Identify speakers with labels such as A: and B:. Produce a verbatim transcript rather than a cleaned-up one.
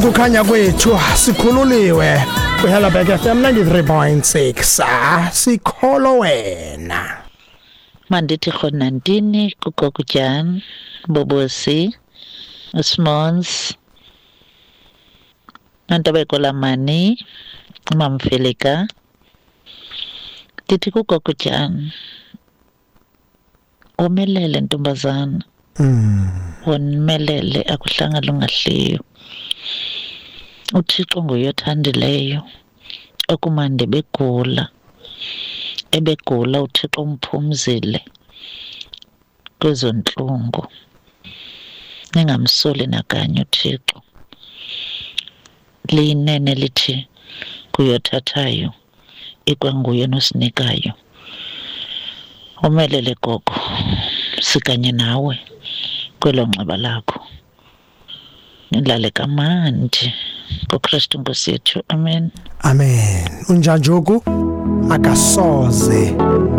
A: Kukhanya kwethu, sikhululiwe kwiHelberg F M ninety-three point six. Ah, sikholo wena.
B: Mandithi rhonantini kugogo Jan, Bobosi, uSmons, Nontabeko Lamani, uMamfeleka. Ndithi kugogo Jan, womelele ntombazana.
A: Mm.
B: Womelele, akuhlanga lungahliyo. UThixo nguye othandileyo okumande begula, ebegula uThixo umphumzile kwezo ntlungu. Ningamsoli nakanye uThixo. Liyinene lithi kuyothathayo ikwanguye nosinikayo. Womelele gogo, sikanye nawe kwelo nxeba lakho. Nilale kamandi ngoKristu Nkosi yethu, amen.
A: Amen. Unjanjoku akasoze.